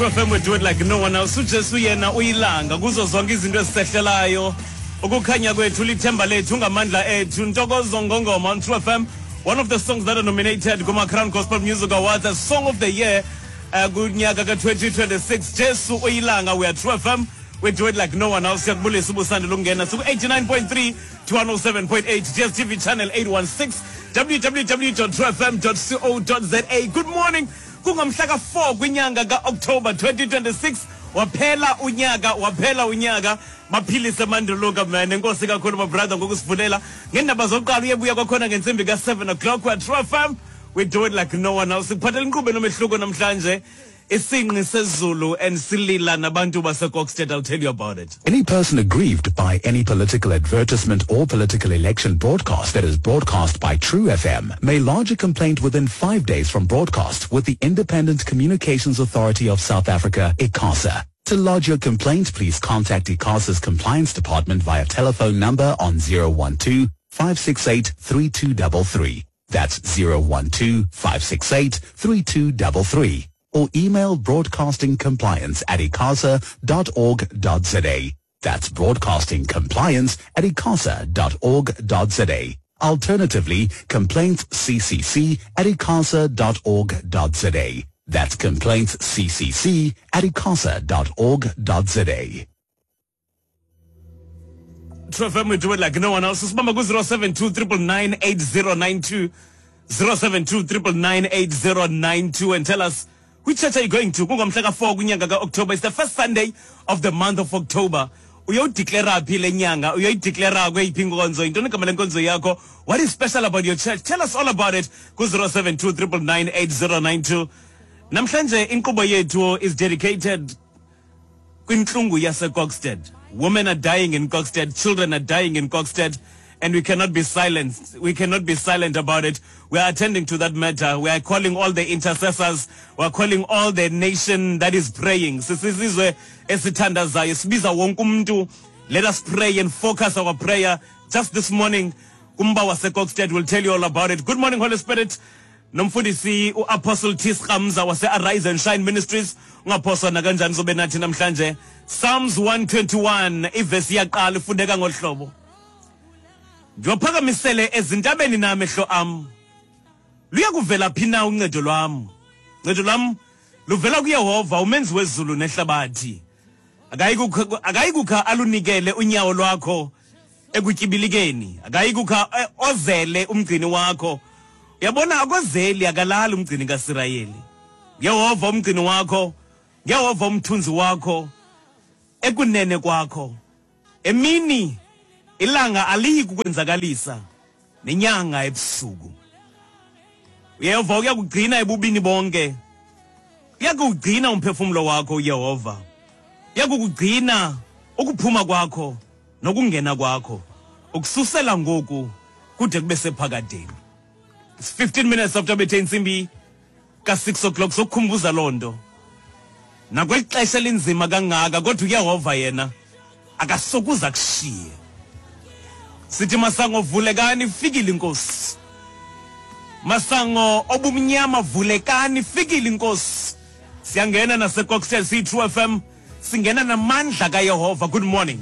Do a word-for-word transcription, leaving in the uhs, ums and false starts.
True F M, we do it like no one else. UJesu yena uyilanga kuzo zonke izinto ezisehlelayo. Ukukhanya kwethu, lithemba lethu, ngamandla ethu. Ntokozo Ngongoma on True F M. One of the songs that are nominated kuma Crown Gospel Music Awards as Song of the Year uh, kunyaka ka twenty twenty-six. Jesu uyilanga. We are True F M. We do it like no one else. Siyakubulisa ubusande lungena siku eighty-nine point three to one oh seven point eight, D S T V channel eight one six, w w w dot true f m dot co dot z a. Good morning. Kungomhla ka four kwinyanga ka October twenty twenty-six. Waphela unyaka, waphela unyaka. Maphilise manduluka man. Enkosi kakhulu my brother ngokusivulela. Ngendaba zokuqala uyebuya kwakhona ngentsimbi ka seven o'clock kwa True F M. We do it like no one else. Sikuphathela inkqubo enomehluko namhlanje. Isinqi sezulu and silila nabantu baseKokstad. I'll tell you about it. Any person aggrieved by any political advertisement or political election broadcast that is broadcast by True F M may lodge a complaint within five days from broadcast with the Independent Communications Authority of South Africa, ICASA. To lodge your complaint, please contact ICASA's Compliance Department via telephone number on zero one two, five six eight, three two three three. That's zero one two, five six eight, three two three three. Or email broadcastingcompliance at icasa dot org dot z a. That's broadcastingcompliance at icasa dot org dot z a. Alternatively, complaintsccc at icasa dot org dot z a. That's complaintsccc at icasa dot org dot z a. True F M, we do it like no one else. Sibamba ku zero seven two, triple nine, eight zero nine two, zero seven two, triple nine, eight zero nine two, and tell us which church are you going to? Kungomhla ka four kunyanga ka October. It's the first Sunday of the month of October. Uyodeclare phi le nyanga? Uyodeclare kweyiphi inkonzo? Intoni igama lenkonzo yakho? What is special about your church? Tell us all about it. Ku zero seven two, triple nine, eight zero nine two. Namhlanje inkqubo yethu is dedicated kwintlungu yaseKokstad. Women are dying in Kokstad, children are dying in Kokstad, and we cannot be silenced. We cannot be silent about it. We are attending to that matter. We are calling all the intercessors. We are calling all the nation that is praying. Sisizwe esithandazayo, sibiza wonke umuntu. Let us pray and focus our prayer. Just this morning, kumba waseKokstad will tell you all about it. Good morning, Holy Spirit. Nomfundisi uApostle T. Ramza wase Arise and Shine Ministries. Ungaphoswa nakanjani zobe nathi namhlanje. Psalms one twenty-one, ivesi yaqala ifundeka ngohlobo. Ndiwaphakamisele ezintabeni namehlo am. Luyakuvela phi na uncedo lwam? Uncedo lwam luvela kuYehova umenzi wezulu nehlabathi. Akayikukha alunikele unyawo lwakho ekutyibilikeni. Akayikukha ozele umgcini wakho. Uyabona akozeli akalali umgcini kaSirayeli. Yehova umgcini wakho, Yehova umthunzi wakho, ekunene kwakho. Emini ilanga aliyi kukwenzakalisa nenyanga ebusuku. Yehova uyakugcina ebubini bonke. Uyakugcina umphefumulo wakho uYehova. Uyakugcina ukuphuma kwakho nokungena kwakho ukususela ngoku kude kube sephakadeni. It's fifteen minutes after bethe intsimbi ka six o'clock sokukhumbuza lonto. Nakwexesha elinzima kangaka kodwa uYehova yena akasokuza kushiye. Sithi masango vulekani fikile inkosi. Masango obumnyama vulekani fikile inkosi. Siyangena naseKokstad C True F M, singena namandla kaYehova. Good morning.